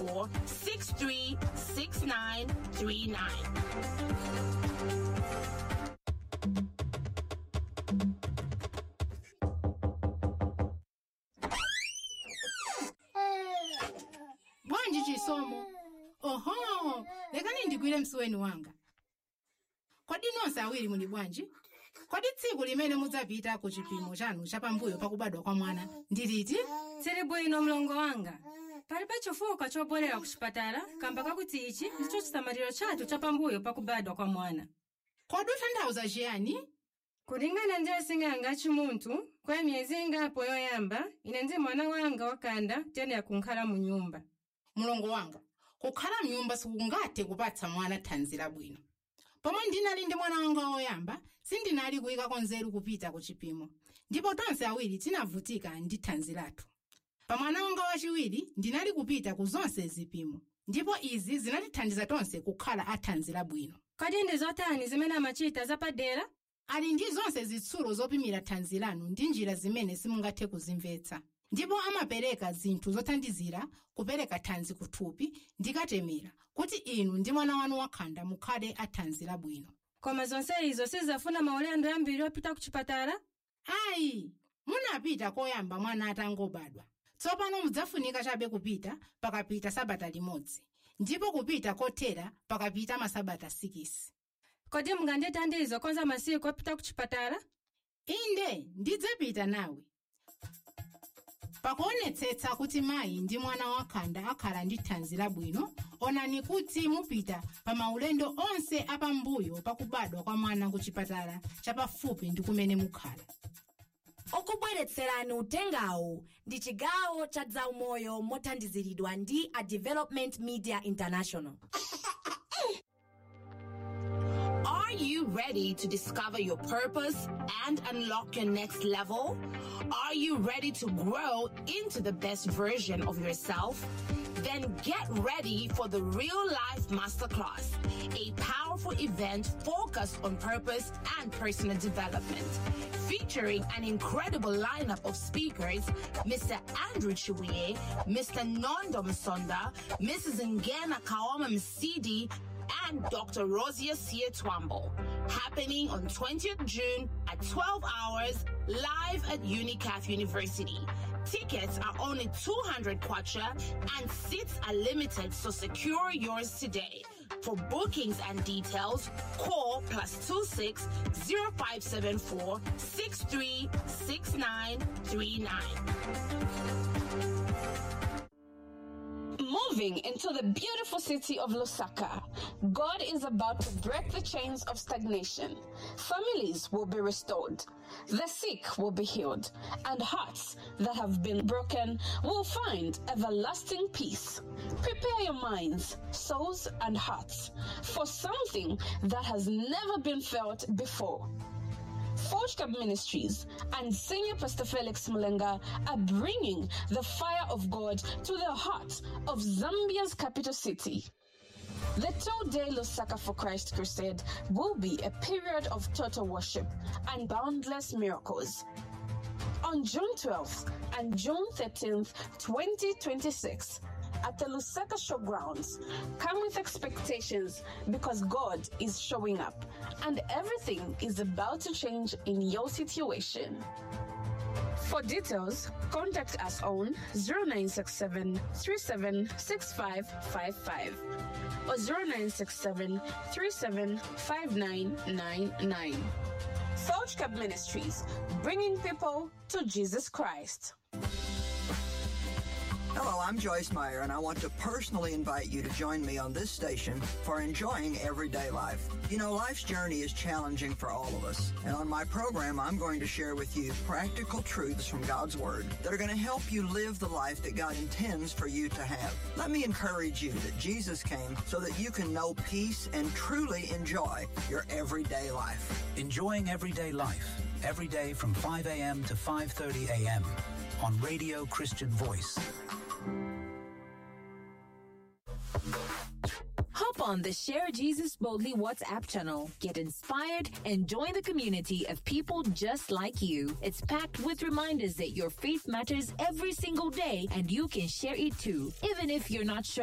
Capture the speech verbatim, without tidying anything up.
five seven four six three six nine three nine. Bwanji Chisomo? Oho, lekani ndigwire msuweni wanga. Kodi nonse awiri muli bwanji? Kodi tsiku limene mudzapita ku chipimo chanu chapambuyo pakubadwa kwa mwana ndi liti? Tsiri bwino, mlongo wanga. Palibe chifukwa chobwerera ku chipatala kamba kakuti ichi ndicho chisamaliro chathu chapambuyo pakubadwa kwa mwana. Kodi ukutanthauza chiyani? Kulingana ndi asing'anga achimunthu, kwa miyezi ingapo yoyamba, ine ndi mwana wanga wakhanda tiyenera kunkhala mu nyumba. Mulongo wanga, kukhala mnyumba sikungathe kupatsa mwana thanzi labwino. Pomwe ndinali ndi mwana wanga woyamba, sindinali kuyikako nzeru kupita ku chipimo, ndipo tonse awiri tinavutika ndi thanzi lathu. Pa mwana wanga wachiwiri ndinali kupita ku zonse zipimo, ndipo izi zinatithandiza tonse kukhala athanzi labwino. Kodi ndi zotani zimene amachita zapadera? Ali ndi zonse zitsulo zopimira thanzi lanu ndi njira zimene simungathe kuzimvetsa, ndipo amapereka zinthu zothandizira kupereka thanzi kuthupi ndikatemera kuti inu ndi mwana wanu wakhanda mukhale athanzi labwino. Koma zonse izo sizafuna maulendo ambiri opita ku chipatala? Ayi, munapita koyamba mwana atangobadwa. Tsopano mudzafunika chabe kupita pakapita sabata limodzi, ndipo kupita kothera pakapita masabata sikisi. Kodi mungandithandize konza masiku opita ku chipatala? Inde, ndidzapita nawe. Pakuonetsetsa kuti mayi ndi mwana wakhanda akhala ndi thanzi labwino, onani kuti mupita pa maulendo onse apambuyo pakubadwa kwa mwana ku chipatala chapafupi ndi kumene mukhala. Okubweretserani utengawu ndi chigawo cha zaumoyo mothandiziridwa ndi a Development Media International. Are you ready to discover your purpose and unlock your next level? Are you ready to grow into the best version of yourself? Then get ready for the Real Life Masterclass, a powerful event focused on purpose and personal development. Featuring an incredible lineup of speakers: Mister Andrew Chiwie, Mister Nondo Msonda, Missus Ngena Kaoma Msidi, and Doctor Rosia Sietwambo. Happening on twentieth June at twelve hours live at UNICAF University. Tickets are only two hundred kwacha and seats are limited, so secure yours today. For bookings and details, call plus two six zero five seven four six three six nine three nine. Moving into the beautiful city of Lusaka, God is about to break the chains of stagnation. Families will be restored, the sick will be healed, and hearts that have been broken will find everlasting peace. Prepare your minds, souls, and hearts for something that has never been felt before. Forge Cup Ministries and Senior Pastor Felix Mulenga are bringing the fire of God to the heart of Zambia's capital city. The two day Lusaka for Christ crusade will be a period of total worship and boundless miracles. On June twelfth and June thirteenth, twenty twenty-six, at the Lusaka Showgrounds, come with expectations because God is showing up and everything is about to change in your situation. For details, contact us on zero nine six seven three seven six five five five or zero nine six seven three seven five nine nine nine. Forge Cup Ministries, bringing people to Jesus Christ. Hello, I'm Joyce Meyer, and I want to personally invite you to join me on this station for Enjoying Everyday Life. You know, life's journey is challenging for all of us, and on my program, I'm going to share with you practical truths from God's Word that are going to help you live the life that God intends for you to have. Let me encourage you that Jesus came so that you can know peace and truly enjoy your everyday life. Enjoying Everyday Life, every day from five a m to five thirty a m on Radio Christian Voice. Hop on the Share Jesus Boldly WhatsApp channel. Get inspired and join the community of people just like you. It's packed with reminders that your faith matters every single day and you can share it too, even if you're not sure